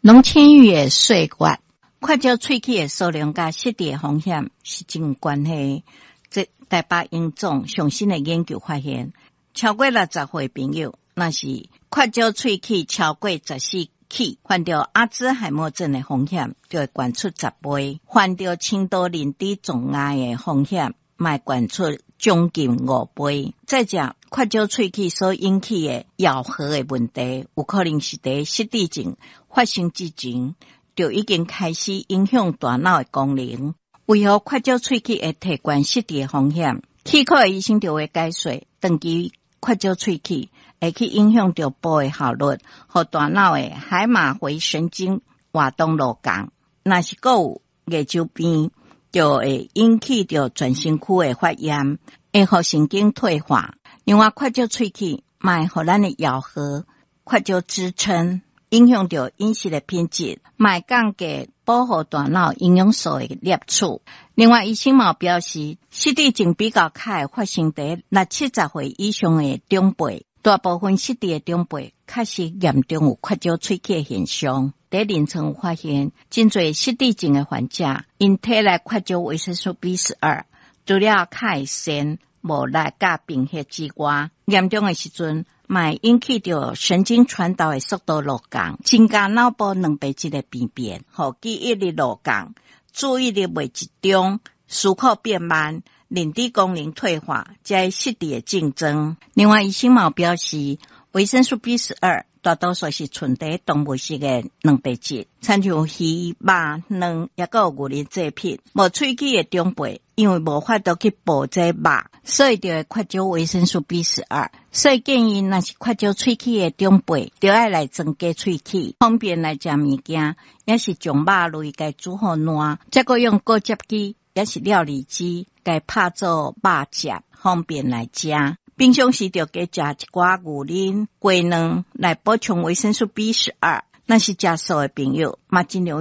攏淺於的歲月，缺少喙齒的數量佮失智的風險是真有關係。這台北榮總上新的研究發現，超過60歲朋友，若是缺少喙齒超過14齒，患著阿茲海默症的風險就會懸出10倍，患著輕度認知障礙的風險嘛會懸出將近5倍。再者，缺少喙齒所引起的咬合的問題，有可能是佇失智症發生之前就已經開始影響大腦的功能。為何缺少喙齒會提懸失智的風險？齒科的醫生就會解說，長期缺少喙齒會去影響著補的效率，予大腦的海馬迴神經活動落降。若是閣有牙周病，就會引起著全身區的發炎，會予神經退化。另外，缺少喙齒嘛會予咱的咬合缺少支撐，影響著飲食的品質，嘛會降低保護大腦營養素的攝取。另外，醫生嘛表示，失智症比較較會發生佇60、70歲以上的長輩，大部分失智的長輩確實嚴重有缺少喙齒的現象。佇臨床有發現，真濟失智症的患者，𪜶體內缺少維生素 B12，除了較會癬、無力佮貧血之外，嚴重的時陣，嘛會引起著神經傳導的速度落降，增加腦部蛋白質的病變，予記憶力落降，注意力袂集中，思考變慢，認知功能退化，這失智的症狀。另外，醫生嘛表示，維生素 B 十二大多數是存佇動物性的蛋白質，親像魚、肉、卵，抑閣有牛奶製品。無喙齒的長輩，因為無法度去補這肉，所以就會缺少維生素 B 十二。所以建議，若是缺少喙齒的長輩，就愛來增加喙齒，方便來食物件，抑是將肉類共煮予爛，再閣用果汁機，抑是料理機，共拍做肉汁，方便來食。平常時就加食一寡牛奶、雞卵來補充維生素 B 十二。若是食素的朋友，嘛盡量。